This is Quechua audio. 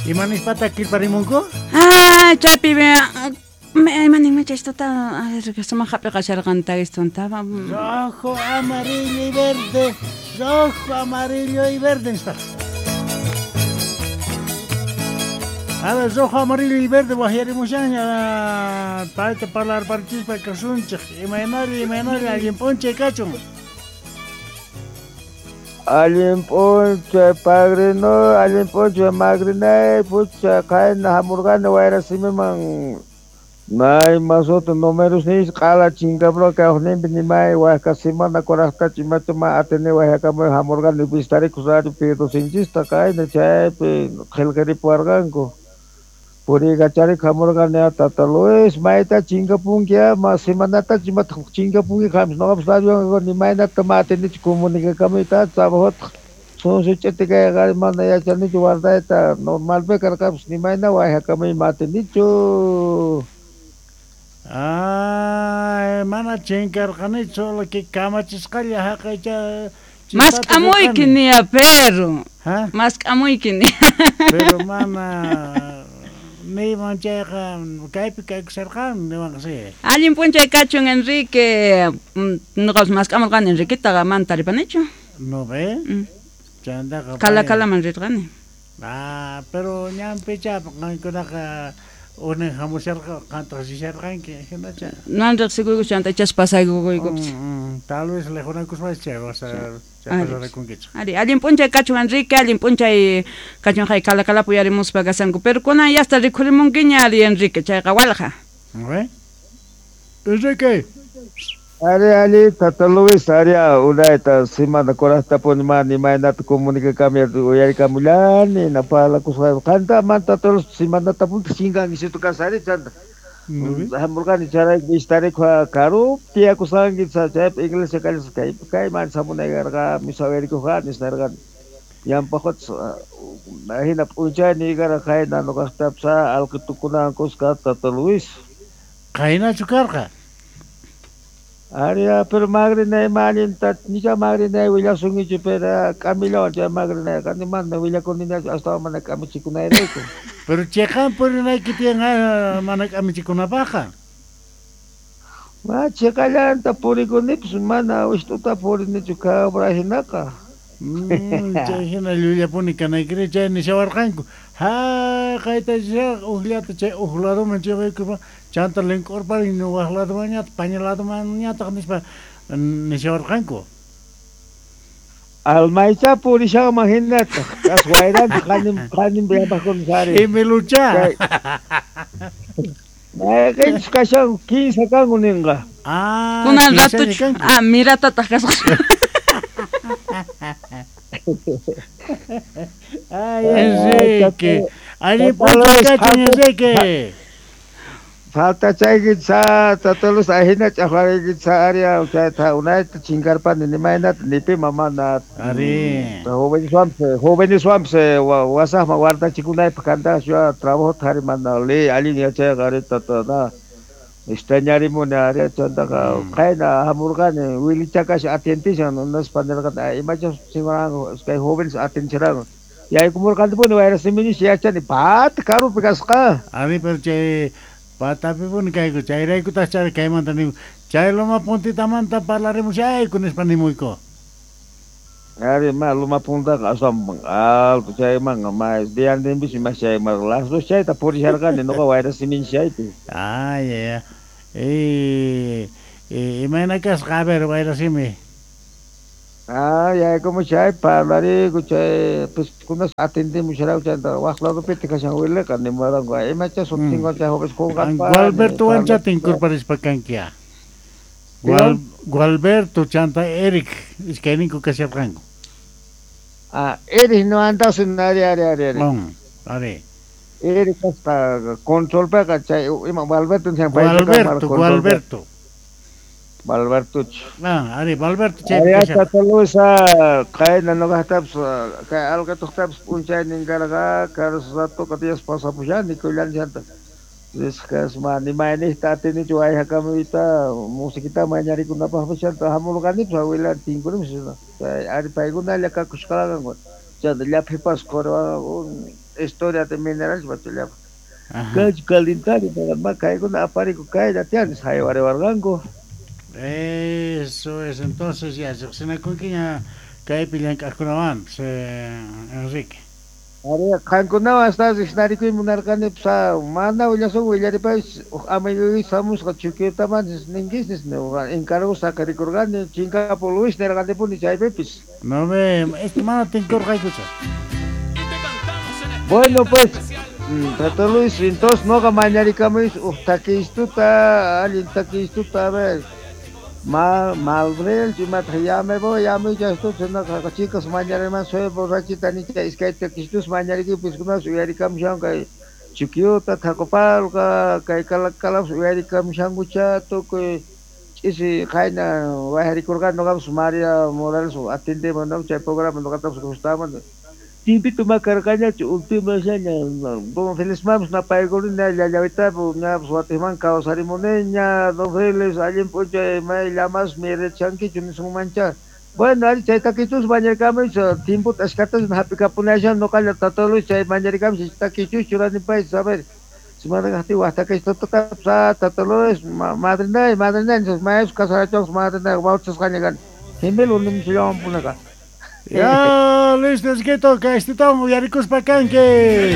Ima nispataq kirparimunku? Ah, chaypi imaninmi chaystata, a ver, sumaq hap'iqasharqan tagistunta. Rojo, amarillo y verde. Rojo, amarillo y verde nispa. A ver, rojo, amarillo y verde waqyarimushanña payta parlarparichispa kasunchik. Imaynalla, imaynalla, allin p'unchay kachun. Allin p'unchay padrino, allin p'unchay madrinay, pucha qayna hamurqani wayra simiman may masuta numeros nis q'ala chinkapura kawaqninpi nimay wayqa semana kuraqtachu imachu ma atini wayhakamuy hamurqani vistarikuq radio Pidosinchista qayna chaypi qillqaripuwarqanku puriykacharikuq hamurqani tata Luis mayta chinkapunki ma semanatachu imataq chinkapunki qampas ñuqapas radiowan nimaynata ma atinichu comunicakamuyta trabajotaq sunsu ch'iti kayqa mana yachanichu guardayta normalpi karqapas nimayna wayhakamuy ma atinichu. Ay, mana chinkarqanichu, solo que kamachisqalla haqaycha. Mask'amuyki niya, perro. Ha? Mask'amuyki niya. Pero mana niyman chayqa kaypi kaykusharqani niwanqa sí. Allin p'unchay kachun Enrique. Ñuqapas mask'amurqani Enriquetaqa mana taripanichu. No ve? Chantaqa Kala kalaman rirqani. Ah, pero ñanpicha qankunaqa unin hamusharqa qantaq risharqanki hinacha. Nan riqsikuyku chanta ichas pasaykukuykupas. Tal vez lihunakuspacha chay vas a chay pasarakunkichik. Ari, allin p'unchay kachun Enrique, allin p'unchay kachun hay kala kalapi uyarimuspa kasanku, pero kunan yasta rikhurimunkiña ari Enrique, chayqa walqa. ¿No ve? Enrique. Ari ali tata Luis ari unayta semana kuraqtapuni mana imaynata comunicakami uyarikamullani napalakusqayku qanta mana tata Luis semanatapuni chinkankichiktu kasari chanta hamurqani chayrayku vistarikuq karupi tiyakusqanki chaypi iglesia kallasqa kaypi kayman hamunay karqa misa uyarikuq nispa ñanpaqpas hina p'unchayni karqa qayna ñuqaqtapas alqitukunawan kuska tata Luis. Qaynachu karqa? Ari, pero madrinay ma allinta nicha madrinay willasunkichu pero k'amillawan chay madrinayqa ni mana willakuninachu astawan mana k'amichikunayrayku. Pero chiqan purinayki tiyan mana k'amichikunapaqqa. Ma chiqallanta purikunipas mana wist'uta purinichu cabra hinaqa. Chay hina llullapuni kanaykiri chay nishawarqanku. Ha, qayta ujllata chay uj laduman chayaykuspa chanta link'urparin waq ladumanñataq paña ladumanñataq nispa nishawarqanku. Almaycha purishanman hinataq kas wayranta qanim qanim yapaqkuna sari. Imilucha. Mayqinchus kashan kinsa kanku ninqa. Ah, Kunan kinsaña ratuchu. kanku. Ah, miratataq kasqa. Ay, Enrique. Allin p'unchay kachun Enrique. Faltachayki sa tata Luis ahina ch'aqwarayki sa ari chayta unayta chinkarpani nimaynata nipima mana. Ari. Joveneswanpas wasaqman wardachikunaypaq kantaqa trabajota ari mana ley allin yachayqa ari tata na extrañarimuni ari chantaqa qayna hamurqani wilichakash atientishan nispa nirqani imachas chinkaranku kay jóvenes atientisharanku yaykumurqanipuni wayra siminisha yachani pata karupi kasqa. Ari, pero chay patapipuni kayku chayraykutaq chay kaymanta nimu chay loma puntitamanta parlarimushayku nispa nimuyku. Ari ma loma puntaqa aswan alto chaymanqa ma diantinpis ima chayman las dos chayta purisharqani ñuqa wayra siminchaypi. Ay, ay, ay. Imayna kasqa a ver wayra simi. Ah, yaykumushay parlariku chay piskunas atendimusharayku chayta waq ladupitaq kashan wiliqa nimuwaranku imacha sutinwan chay jóvenes qunqarpani. Gualbertowancha tinkurparispa kankia. Gualberto chanta Eric iskayninku kasharqanku. Ah, Eric no andasun ari ari ari ari. Ari. Eric kasqa controlpiqa chay ima Gualberto nishan Gualberto, Gualberto. Valbertucho. Ah, ari, Valberto chay. Ari tata Luis qayna ñuqaqtapas kay alqituqtapas p'unchaynin karqa karas ratuqa Dios pasapushani kullani chanta. Nisqas ma nimayniqta atinichu wayhakamuyta musiquita mañarikunapaqpas chanta hamurqanipas awilani tinkunipis chay ari paykunalla kakushqaranku chanta llaphipas quriwanku Historia de minerales bachillapa. Kach calendario ma kaykuna apariku kaylla tiyan haywariwarqanku. Eso es, entonces ya riqsinakunkiña kaypi llank'aqkunawanpas, Enrique. Ari, qankunawan hasta riqsinarikuy munarqani, pues, mana willasun willaripaysh huk amiguyki hamusqa Chuquiotamanchis ninkisis encargo saqirikurqani chinkapu Luis nirqanipuni chaypipis. No me, este mana tinkurqaykucha. Bueno, pues, Tato Luis, entonces noqa mañarikamuy huk takistuta, allin takistuta, a ver. Malbrel, imataq ya me voy, ya me chastuta, noqa chicos mañariman soy borrachita nicha iskay takistus mañarikipis kunas uyarikamushan kay Chuquiuta, Tacopalca, kay Calacalapis uyarikamushankucha tukuy ch'isi qayna wayarikurqani noqapas María Morales atendemos, ¿no? Chay programa noqatapas gustaman. Timpito makarqañachu últimasllaña don Félix mamos napaykurina llallawitapu ñapas watiqman kawsarimuniña don Félix allin p'unchay may llamas mirichankichu nisunmancha. Bueno, ari chay takichus mañarikamuy timpota achkatas hap'ikapunashan noqalla Tata Luis chay mañarikamuy takichus churanipaychis a ver. Si mana waq takichutatapas Tata Luis madrinay madrinay mayus casarachuanpas madrinay bautizasqaña kani. Gemelo nimusllawanpunaqa. Ya, listo, Enriquito, kaystitawan uyarikuspa kanki.